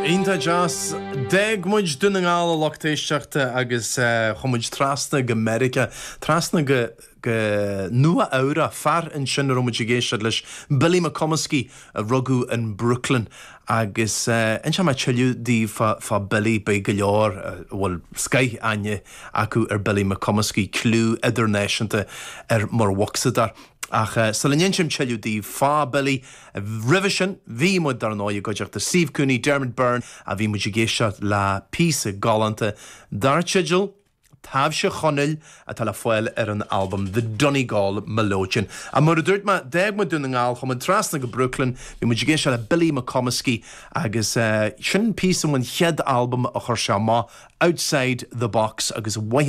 Iontach deas. D'fhág muid Dún na nGall a lucht éisteachta agus chuaigh muid trasna go Meiriceá, trasna go go Nua Eabhrac. Fear ansin a raibh muid ag éisteacht leis, Billy McComiskey, a rugadh in Brooklyn. Agus inseoidh mé tuilleadh daoibh fá fá Billy, beidh go leor a bhfuil scoth-aithne acu ar Billy McComiskey, cliú idirnáisiúnta air mar bhocsadóir. Ach sula n-insim tuilleadh daoibh fá Billy, roimhe sin, bhí muid dar ndóigh i gcuideachta Steve Cooney, Dermot Byrne, a bhí muid ag éisteacht le píosa galánta dar teideal Taibhse Chonaill atá le fáil ar an albam The Donegal Melodeon. Ach mar a dúirt mé, d'fhág muid Dún na nGall, chuaigh muid trasna go Brooklyn, bhí muid ag éisteacht le Billy McComiskey agus sin píosa ón chéad albam a chuir sé amach, Outside the Box, agus mhaith.